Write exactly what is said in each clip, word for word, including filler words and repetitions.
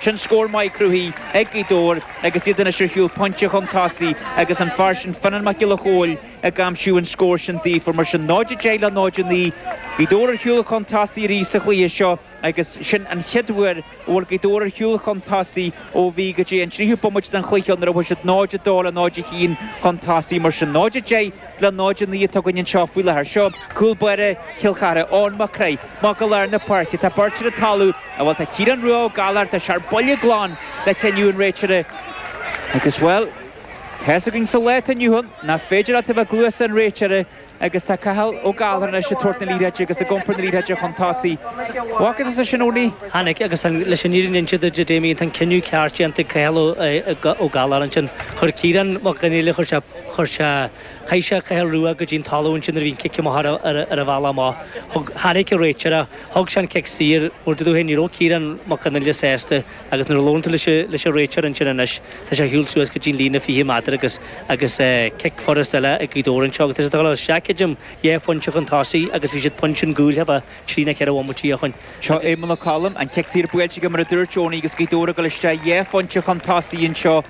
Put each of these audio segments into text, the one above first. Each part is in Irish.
Sin scór maith cruthaithe ag Gaoth Dobhair agus iad anois ar shiúl pointe chun tosaigh agus an fear sin Fionnán Mac Giolla Chóill ag aimsiú an scór sin daofa mar sin náid a deich le náid a naoi. Gaoth Dobhair ar shiúl chun tosaigh arís sa chluiche seo agus sin an chéad uair a bhfuil Gaoth Dobhair ar shiúl chun tosaigh ó bhí go dtí an tríú bomaite den chluiche nuair a bhfuil siad náid a dó le náid a haon chun tosaigh mar sin náid a deich le náid a naoi atá againn anseo faoi láthair seo cúl báire Chill Chartha Eoin Mac Craith amach go lár na páirce tá beirt ar an talamh a bhfuil tá Ciarán Rua Ó Gallchóir tá sé ar buile glan le cinneadh an réiteora agus well tá againn sa lá inniu nach féidir leat a bheith cluasa an réiteora agus tá Cathal Ó Gallchóir anois ag tabhairt na liathróide agus ag iompar na liathróide chun tosaigh. Bhca sa sin óní? Tháinig agus leis an fhírinne a inse Damien tá cinneadh ceart déanta Cathal Ó Gallchóir ansin chuir Ciarán Mac Conghail chuir sé chuir sé chaith sé Cathal Rua go dtí'n talamh ansin a bhíon cic amach ar ar a bhealach amach. Thug tháinig an réiteoir thug sé an cic saor mar dú ní raibh Ciarán Mac Conghail sásta agus nuair a labhair tú leis leis an réiteoir ansin anois tá sé ar shiúl suas go dtí'n líne fiche méadar agus agus cic furast eile ag Gaoth Dobhair anseo agus tá sé isteach dhá phointe chun tosaigh agus bhí siad pointe chun cúil a trí na ceithre bhomaite ó shin. Seo Éamonn Ó Colm an cic saor buailte go mar a dúirt Eoin agus Gaoth Dobhair go isteach dhá phointe chun tosaigh anseo.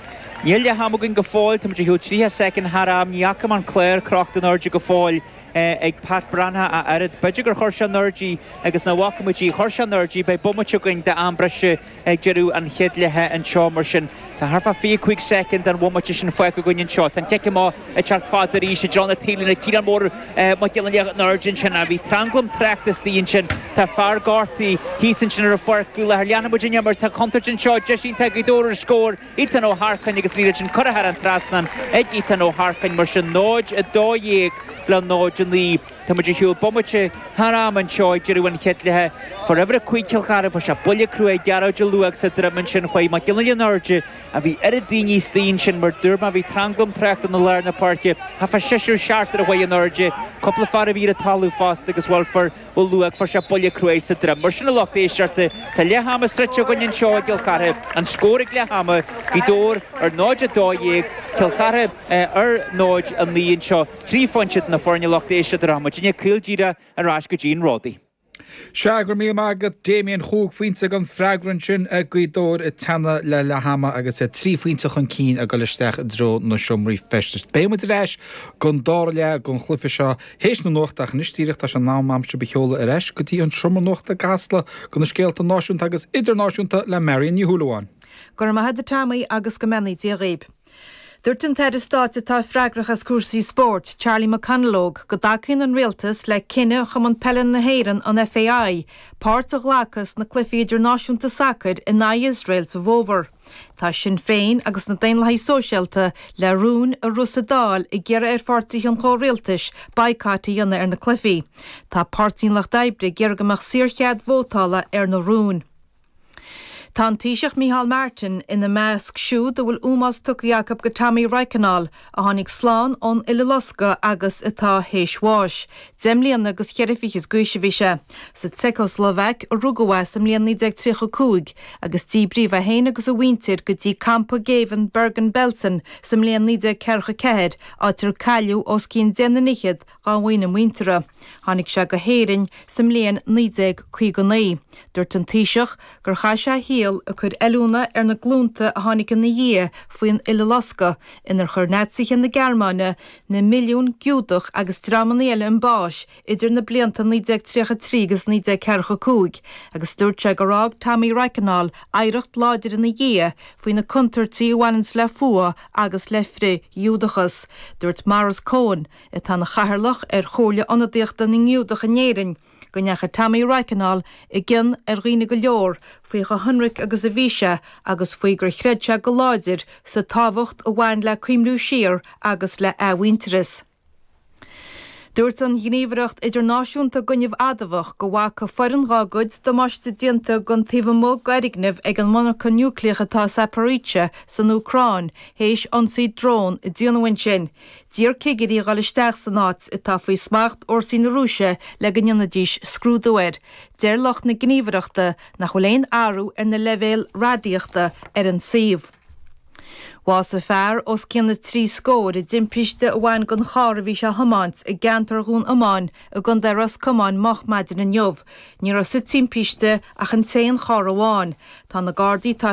Níl leath ama againn go fóill tá shiúl tríocha soicind thar am ní fhaca an clár crochta in airde go fóill ag Pat Branagh a oiread. B'fhéidir gur chuir sé in airde agus na bhfacamuidí chuir sé in airde beidh bomaite againn d'am breise ag deireadh an chéad leatha anseo mar sin. Tá thart fá fiche cúig soicind an bhomaite sin fágtha againn anseo. Tá an cic amach ag teacht fada arís i dtreo na taobhlíne Ciarán Mór Mac Giolla in airde ansin a bhí tranglam tráchta istigh ansin Tá fear gortaithe thíos ansin ar an pháirc faoi láthair leanfaimid an imirt tá contúirt anseo deis iontach Gaoth Dobhair ar scór Ethan Ó hEarcáin agus líad sin curtha thar an trasnán ag Ethan Ó hEarcáin mar sin náid a dó dhéag le náid a naoi. Tá muid ar shiúl bomaite thar am anseo ag deireadh an chéad leatha. Fuair uimhir a cúig Cill Chartha fuair sé buille crua Gearóid Ó Luaigh sa droim ansin chuaigh Mac Giolla in airde a bhí oiread daoine istigh ansin mar dúirt mé bhí tranglam tráchta na lár na páirce Tá fá seisear seachtar a chuaigh in airde cúpla fear a bhí ar an talamh fosta agus bhfuil fuair Ó Luaigh fuair sé buille crua sa droim. Mar sin a lucht éisteachta Tá leath ama sroichte againn anseo i gCill Chartha an scór ag leath ama Gaoth Dobhair ar náid a dó dhéag Cill Chartha ar náid a naoi anseo trí phointe na foirne lucht éisteachta rachaimid caol díreach ar ais go dtí an Ródaí. Se gur mí agad Damien chúig phointe an freagra ansin ag Gaoth Dobhair ag teannadh le leath ama agus é trí phointe chun cinn ag dul isteach i dtreo na seomraí feistis. Beimid ar ais don dara leath den chluiche seo théis na nuachta anois díreach tá sé in am sibh a sheoladh ar ais go dtí an seomra nuachta i gCasla do na scéalta náisiúnta agus idirnáisiúnta le Marion Ní Shúilleabháin. Gur maith a Tommy agus go mbeannaí Dia dhaoibh. Dúirt an tAire Stáit atá freagrach as cúrsaí spóirt, Charlie McConalogue, go dtacaíonn an rialtas le cinneadh Chumann Peile na hÉireann an FAI, páirt a ghlacadh sna cluichí idirnáisiúnta sacair in aghaidh Iosrael sa bhfómhar. Tá Sinn Féin agus na Daonlathaigh Sóisialta le rún a rith sa Dáil ag iarraidh ar pháirtithe an chomhrialtais boycott a dhéanamh ar na cluichí. Tá Páirtí an Lucht Oibre ag iarraidh go mbeadh saorchead vótála ar na rúin. Tá an Taoiseach Micheál Martin ina measc siúd a bhfuil ómós tugtha acu go Tommy Reichenal a tháinig slán ón Uileloscadh agus atá théis bháis. Deich mbliana agus ceithre fichid d'aois a bhí sé. Sa tSeicshlovaic a rugadh é sa mbliain naoi déag tríocha cúig agus díbríodh é féin agus a mhuintir go dtí campa géibhinn Bergen-Belsen sa mbliain naoi déag ceathracha ceathair áit ar cailleadh os cionn deich ndaichead dá dhaoine muinteartha. Tháinig sé go hÉirinn sa mbliain naoi déag caoga naoi. Dúirt an Taoiseach gur chaith sé a shaol ag cur oiliúna ar na glúnta a tháinig ina dhiaidh faoin Uileloscadh inar chuir Naitsithe na Gearmáine na milliún Giúdach agus dreamanna eile chun báis idir na blianta naoi déag tríocha trí agus naoi déag ceathracha cúig, agus dúirt sé gur fhág Tommy Reichenal oidhreacht láidir ina dhiaidh faoi na contúirtí a bhaineann le fuath agus le frith-Ghiúdachas. Dúirt Maurice Cohen, atá ina chathaoirleach ar Chomhairle Ionadaíochta na nGiúdach in Éirinn, go ndeachaigh Tommy Reichenal i gcion ar dhaoine go leor faoi chomh hionraic agus a bhí sé agus faoi gur chreid sé go láidir sa tábhacht a bhain le cuimhniú siar agus le athmhuintearas. Dúirt an Ghníomhaireacht Idirnáisiúnta d'Fhuinneamh Adamhach go bhfaca foireann dá gcuid damáiste déanta don taobh amuigh d'fhoirgneamh ag an monarcha núicléach atá Zaporizhzhia san Úcráin théis ionsaí drón a déanadh ansin. D'iarr cigirí a dhul isteach san áit atá faoi smacht fhórsaí na Rúise le go ndéanfaidís scrúdú air. Deir lucht na gníomhaireachta nach bhfuil aon athrú ar na leibhéil radaíochta ar an suíomh. Bhásaigh fear os cionn na trí scór i dtimpiste a bhain don charr a bhí sé a thiomáint i gceantar Dhún Iomáin i gContae Ros Comáin moch maidin inniu. Ní raibh sa timpiste ach an t-aon charr amháin. Tá na Gardaí tá